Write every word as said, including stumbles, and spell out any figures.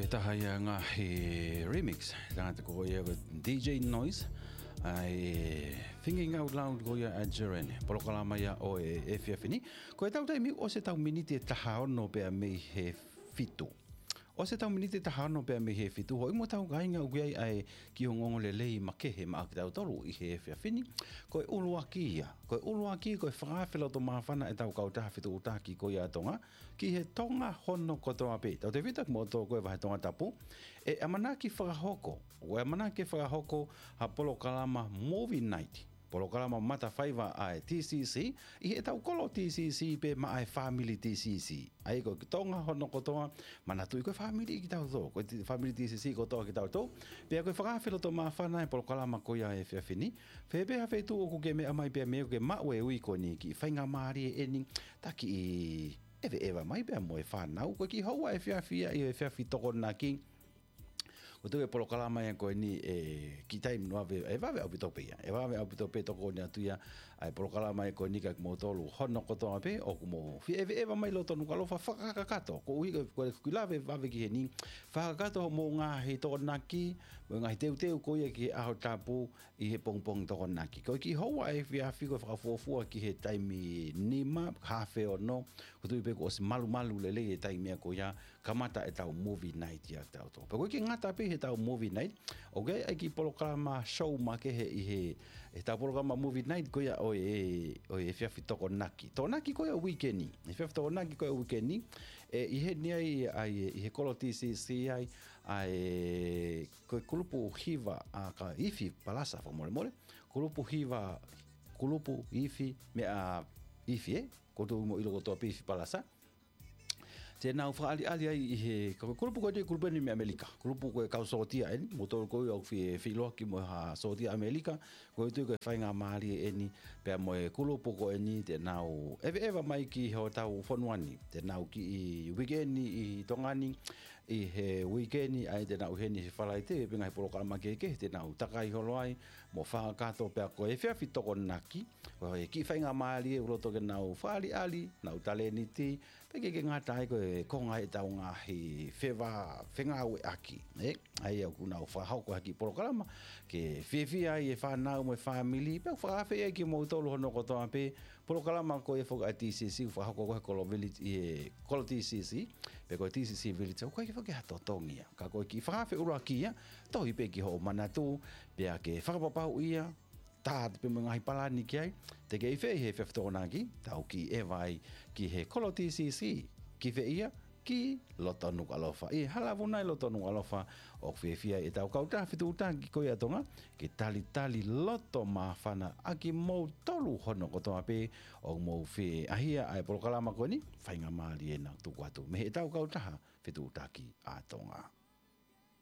Taha ia ngaahi remix, tangata ko ia ko D J Noise, ʻa e Thinking Out Loud ko ia ʻa Jerene. Polokalama ia ʻo e efiafi ni. Ko e tau taimi ʻosi e tau miniti ʻe taha ono pea mei he fitu. ʻOsi e tau miniti ʻe taha ono pea mei he fitu. Hoi mo tau kāinga ʻoku ʻi ai ʻa e kiʻi ongoongo lelei makehe maʻa kitautolu ʻi he efiafi ni. Ko e ʻuluaki ia. Ko e ʻuluaki, ko e fakaafe loto māfana ʻetau kautaha fetuʻutaki ko ia ʻa Tonga ki he Tonga hono kotoa pē. Tautefito kimoutolu ko e vahe Tongatapu, ʻe ʻamanaki fakahoko, ʻe ʻamanaki fakahoko ha polokalama movie night, polokalama matafaiva ʻa e T C C, ʻi heʻetau kolo T C C pē maʻa e fāmili T C C. ʻA ia ko e Tonga hono kotoa, manatuʻi ko e fāmili kitautolu, ko e ti-, fāmili T C C kotoa kitautolu. Pea ko e fakaafe loto māfana e polokalama ko ia he efiafi ni. Fē pē ha feituʻu ʻoku ke meʻa mai pea mei ai ʻoku ke maʻu e ui ko eni, kiʻi faingamālie eni, ta kiʻi ʻeveʻeva mai pea mo e fānau. Ko e kiʻi houa efiafi ia ʻi he efiafi Tokonaki. Ko e tuʻu e polokalama ia ko eni ʻe kiʻi taimi ʻe vave, ʻe vave ʻaupito pē ia. ʻE vave ʻaupito pē tokoni atu ia ʻa e polokalama ia ko eni kia kimoutolu hono kotoa pē ʻoku mou fie ʻeveʻeva mai loto Nukuʻalofa, fakakakato. Koeʻuhi ko e, ko e kiʻi lave vave ki heni, fakakakato hoʻomou ngaahi Tokonaki, mo e ngaahi teuteu ko ia ki he ʻaho tapu ʻi he pongipongi Tokonaki. Ko e kiʻi houa efiafi ko e fakafuofua ki he taimi nima, haafe ono, ko e tuʻu pē kuo ʻosi malumalu lelei e taimi ia ko ia, kamata ʻetau movie night ia kitautolu. Pea ko e kiʻi ngata pē heʻetau movie night, ʻoku ʻi ai e kiʻi polokalama show makehe ʻi he, heʻetau polokalama movie night ko ia ʻo e, ʻo e efiafi Tokonaki. Tokonaki ko ia weekend. Efiafi Tokonaki ko ia weekend. ʻE ʻi heni ai, ʻa e, ʻi he kolo T C C ai, ʻa e, ko e kulupu hiva ʻa ka Ifi Palasa fakamolemole. Kulupu hiva, kulupu Ifi meʻa Ifi, ē? Ko e tuʻu mo ʻilo kotoa pē Ifi Palasa. Te nau fakaʻaliʻali ai ʻi he, ko e kulupu ko eni, kulupu eni mei ʻAmelika. Kulupu ko e kau sōtia eni, mo tolu ko ia ʻoku fie feʻiloaki mo ha sōtia ʻAmelika, ko e tuʻu ko e faingamālie eni, pea mo e kulupu ko eni te nau ʻeveʻeva mai ki hotau fonua ni. Te nau kiʻi weekend ʻi Tonga ni, ʻi he weekend, ʻa ia te nau ʻi heni he Falaite, pea ngaahi polokalama kehekehe, te nau takai holo ai, mo fakakakato pea ko e efiafi Tokonaki, ko e kiʻi faingamālie ʻoku loto ke nau fakaʻaliʻali, nau talēniti, pea ʻikai ke ngata ai ko e konga ʻetau ngaahi feva, fengāueʻaki, ē? ʻA ia ʻoku nau fakahoko ha kiʻi polokalama, ke fiefia ai e fānau mo e fāmili, pea ʻoku fakaafe ai kimoutolu hono kotoa pē, polokalama ko ia foki ʻa e T C C, fakahoko ko e kolo village ʻi he kolo T C C, pe ko e T C C village, ʻoku ʻikai foki ha totongi ia. Ka ko e kiʻi fakaafe ʻuluaki ia, tohi pē ki hoʻo manatu, pea ke fakapapauʻi ia, tā atu pē mo e ngaahi palani ki ai, te ke ʻi fē ʻi he efiafi Tokonaki, tau kiʻi ʻeva ai ki he kolo T C C, ki fē ia, ki loto Nukuʻalofa. ʻI he Hala Vuna ʻi loto Nukuʻalofa, ʻoku fiefia ai ʻetau kautaha fetuʻutaki ko ia ʻa Tonga, ke talitali loto māfana ʻa kimoutolu hono kotoa pē, ʻoku mou fie ʻaʻahi ʻa e polokalama ko eni, faingamālie ena tuku atu mei heʻetau kautaha fetuʻutaki ʻa Tonga.